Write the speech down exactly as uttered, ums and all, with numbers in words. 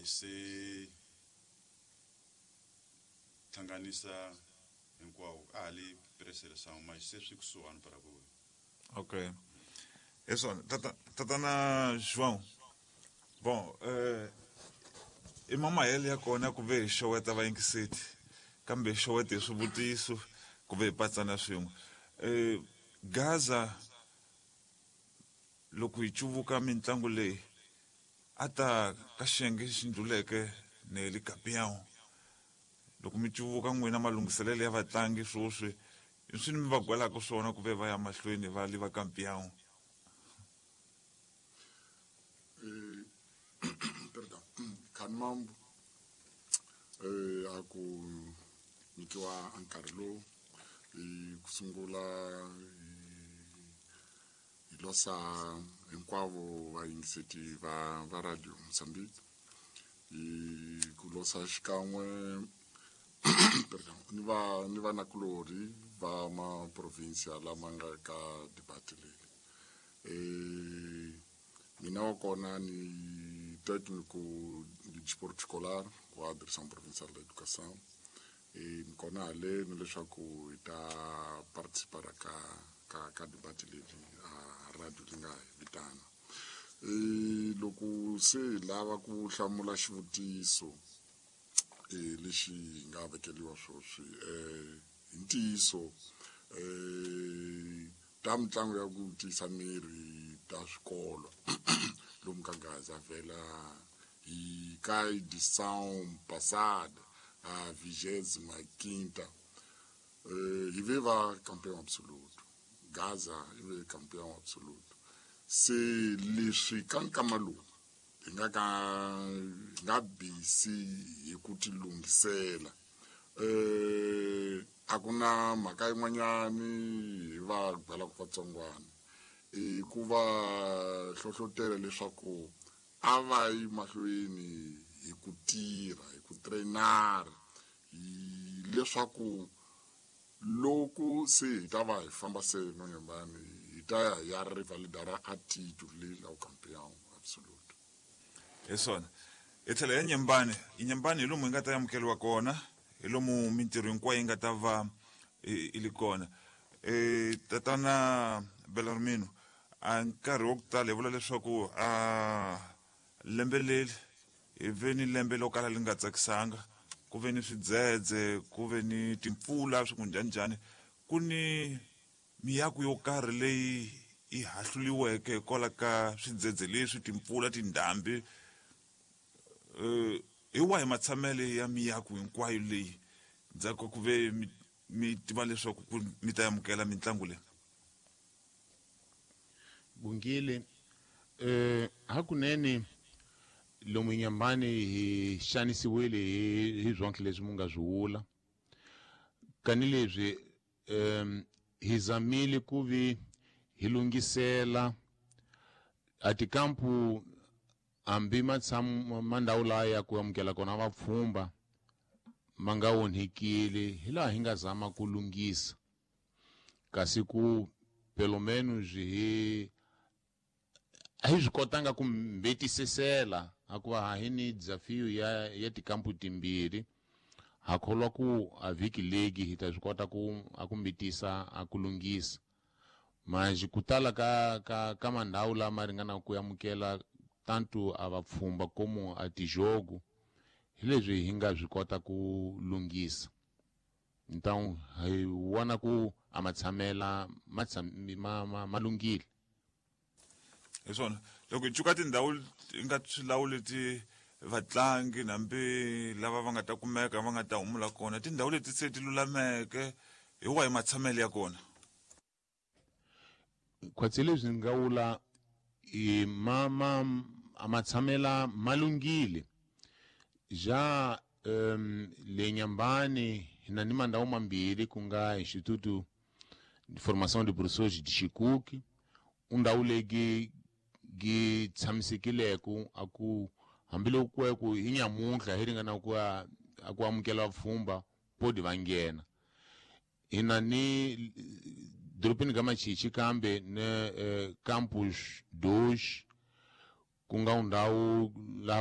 se hlanganisa hinkwawo a ha li pré-seleção, mas se swi kusuhani para ku Ok. É só, tata, tatana João. Bom, eh, i mamayele ya kona ku ve hi xoweta vayingiseti, kambe hi xowete hi swivutiso ku ve hi patsana swin'we. Eh, Gaza loko hi cuvuka mitlangu leyi a ta ka xiyenge xi ndluleke ne le campeão. Loko mi cuvuka n'wina malunghiselelo ya vatlangi swoswi i swi mi va gwelaka swona ku ve va ya mahlweni va li va campeão? Eh, perdão, Khanmambo, eh, a ku nyikiwa nkarhi lowu hi ku sungula hi losa hinkwavo vayingiseti va va Radio Mozambique, hi ku losa xikan'we, perdão, ni va ni vanakulorhi va maprovinsia lama nga ka debate leyi. Eh, mina wa kona ni técnico de desporto escolar wa Direção Provincial da Educação e ni kona haleni leswaku hi ta participar ka ka ka debate leyi a radio li nga hi vitana. E loko se hi lava ku hlamula xivutiso e lexi hi nga vekeliwa swoswi, eh hi ntiyiso eh ta mitlangu ya ku tiyisa miri ta swikolo lomu ka Gaza vhela hi ka edição passada, a vigésima quinta, eh hi ve va campeão absoluto. Gaza i ve campeão absoluto. Se leswi ka nkama lowu hi nga ka hi nga busy hi ku ti lunghisela, eh a ku na mhaka yin'wanyani hi va byelaka vatsongwana i ku va hlohlotela leswaku a va yi mahlweni hi ku tirha, hi ku trainara, hi leswaku loko se hi ta va hi famba se nonyembani hi ta ya hi ya rivalidara a titulu leyi la campeão absoluto. Hi swona, hi tlhela ya Nyembani. Nyembani hi lomu hi nga ta amukeriwa kona, hi lomu mintirho hinkwayo yi nga ta va i li kona. E tatana Belarmino, a nkarhi wa ku tala hi vula leswaku a lembe leri hi ve ni lembe lo kala li nga tsakisanga, ku ve ni swidzedze, ku ve ni timpfula, swi ku njhaninjhani, ku ni miako yo karhi leyi yi hahluliweke hikwalaho ka swidzedze leswi, timpfula, tindhambi. Eh hi wahi matshamele ya miako hinkwayo leyi ndzhaku ku ve mi, mi tiva leswaku ku mi ta amukela mitlangu leyi? Bungile, eh hakunene lomu Nyambani hi xanisiwile hi hi swonke leswi mu nga swi vula, kani leswi um hi zamile ku vi hi lunghisela a tikampu hambi matshamu mandhawu laya ya ku amukela kona vapfhumba ma nga onhekile, hi laha hi nga zama ku lunghisa, kasi ku pelo menos hi a hi swi kotanga ku mbetisisela hikuva ha hi ni desafio ya ya tikampu timbirhi. Ha kholwa ku a vhiki legi hi ta swi kota ku a ku mbitisa a ku lunghisa manje ku tala ka ka ka mandhawu lama ringana ku amukela tanto a vapfhumba como a tijogo, hi leswi hi nga swi kota ku lunghisa. Então hi vona ku a matshamela ma ma ma ma lunghile. Hi swona, loko hi cuka tindhawu hi nga swilawu leti vatlangi hambi lava va nga ta kumeka va nga ta humula kona, tindhawu leti se ti lulameke, hi wahi matshamelo ya kona? Khwatsi leswi ni nga vula i ma ma a matshamela ma lunghile ja. um le Nyambani hi na ni mandhawu mambirhi, ku nga Instituto de Formação de Professores de Chicuque, undhawu leyi gi tshamisekileko a ku hambiloko ku ku hi nyamuntlha hi ringana ku a ku amukela vapfhumba podi va nghena. Hi na ni dorobeni ka Machichi kambe ne eh, campus dois, ku nga ndhawu laha